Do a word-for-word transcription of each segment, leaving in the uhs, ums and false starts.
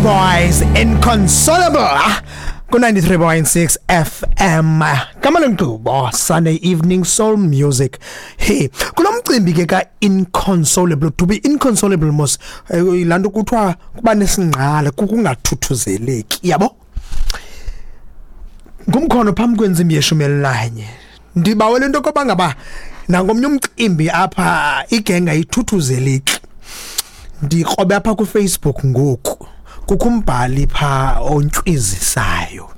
Boys, Inconsolable, ku ninety-three point six F M. Kama lenkqubo Sunday Evening Soul Music. Hey, kulomcimbi ke ka inconsolable, to be inconsolable mos eh, lanto kuthiwa kuba nesingqala, kukungathuthuzeleki, yabo. Ngumkhono phambi kwentsimbi yeshumi elinanye. Ndibawela into koba ngaba nangomnye umcimbi apha igenga ithuthuzeleki. Ndikrobe apha ku Facebook ngoku. Kukho umbhali pha ontshwizisayo.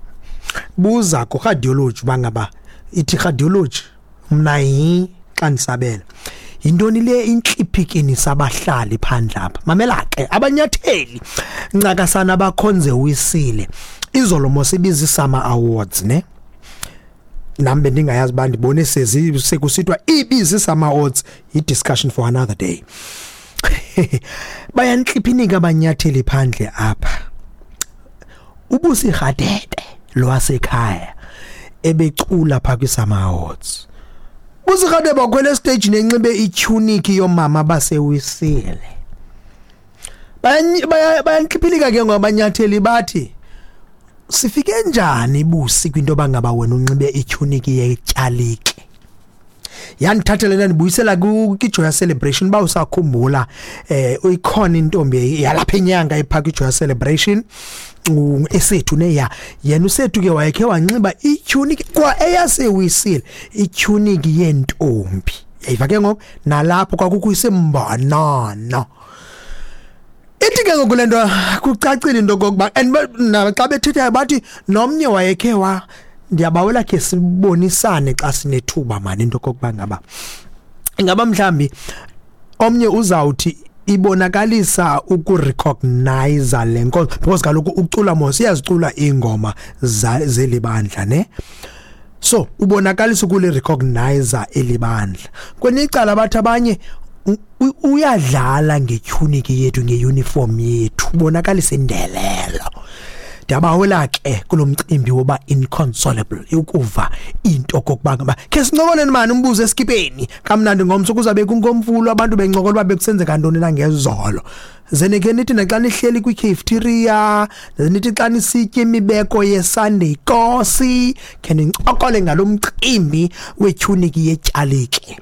Buza ku radiology bangaba ithi radiology mna yi xa ndisabela. Yintoni le intlipikini sabahlali phandle apha? Mamela ke, abanyatheli ncakasana bakhonze wisile. Izolo mos ibiza Summer Awards, ne? Nami bendingayazi ba ndibone sezi sekusithiwa ibiza Summer Awards, i discussion for another day. Bayanhliphinika abanyatheli phandle apha. UBusi Radebe lwasekhaya ebecula pha kwi Summer Awards. Busi Radebe wakhwela stage nenxibe itunic yomama basewisile. Bayanhliphilika ke ngobanyatheli, bathi sifike njani Busi kwinto bangaba wena unxibe itunic yetyalike? Yandithathela ndibuyisela kwiJoyous Celebration, ba usakhumbula, eh uyikhona intombi yalapha enyanga epha kwiJoyous Celebration, esethu neya yena usethu ke wayekhe wanxiba itunic kwa eyasewisile, itunic yentombi, yayiva ke ngoku nalapho kwakukho isembanana. Ithi ke ngoku lento kucacile into kokuba and xa bethetha bathi nomnye wayekhe wa. Ndiyabawela ke sibonisane xa sinethuba mani into kokuba ngaba ingaba mhlambi omnye uzawuthi ibonakalisa ukurecognize le nkonzo, because kaloku ucula mos, iyazicula iingoma zelibandla, ne? So ubonakalisa ukuli recognize elibandla. Kwelinye icala bathi abanye uyadlala ngetunic yethu, ngeuniform yethu, ubonakalisa indelelo. Ndiyabawela ke kulomcimbi woba inconsolable ukuva into kokuba ngaba ke sincokoleni mani umbuzo esikipeni kamnandi ngomso kuzabe kungomfulo, abantu bencokola uba bekusenzeka ntoni na ngezolo. Ze ke nithi naxa nihleli kwi-cafeteria, ze nithi xa nisitya imibeko ye-Sunday kosi, khe nincokole ngalo mcimbi wetunic yetyalike.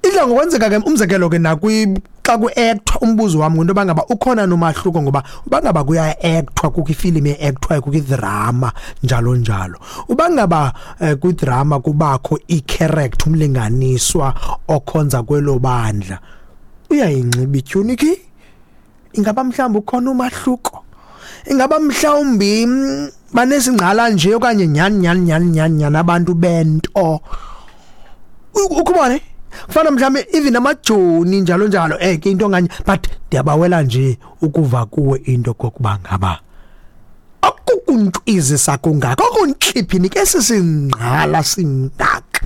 Idla ngokwenzeka ke, umzekelo ke nakwi xa ku-actwa. Umbuzo wami ngento bangaba ukhona nomahluko, ngoba ubangaba kuya-actwa, kukho ifilimu e-actwayo, kukho idrama, njalo njalo. Ubangaba eh, kwidrama kubakho i-character, umlinganiswa okhonza kwelo bandla, uyayinxiba itunic, ingaba mhlawumbi ukhona umahluko? Ingaba mhlawumbi mm, banesingqala nje okanye nyani nyani nyani nyani nyani abantu bento ukubone kufana mhlawumbe even amajoni, njalo njalo, eh ke into nganye? But ndiyabawela nje ukuva kuwe into kokuba ngaba akukuntwizisa kungaka okunhliphini ke sisingqala singaka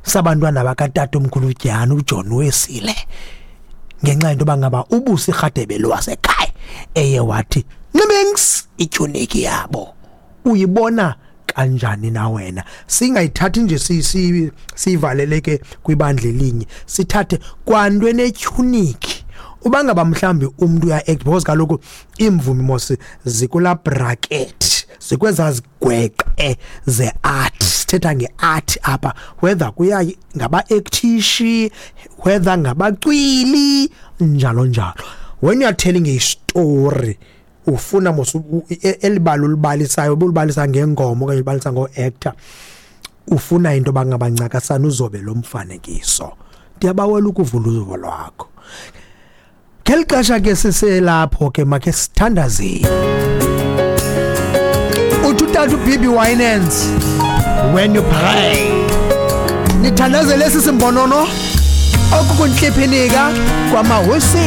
sabantwana bakatata omkhulu uJyana uJohn Wesile, ngenxa yento bangaba uBusi Radebe lwasekhaya eye wathi nxibings itunic yabo. Uyibona kanjani na wena? Singayithathi nje si sivaleleke kwibandla elinye, sithathe kwanto enetunic. Ubangaba mhlambi umuntu uya act, because kaloku imvumi mos zikula bracket, zikweza zigweqe ze art. Sithetha ngeart apha, whether kuya ngaba actishi, whether ngabacwili, njalo njalo. When you are telling a story, ufuna mos elibalo ulibalisayo, ubulibalisa ngengoma okanye ulibalisa ngo-actor, ufuna into bangabancakasana uzobe lo mfanekiso. Ndiyabawela ukuvula uzuvo lwakho ngeli xesha ke siselapho ke. Makhe sithandazeni. Uthi utata uB B Winans, "When you pray," nithandazele esi simbonono okukunhliphinika kwamahosi.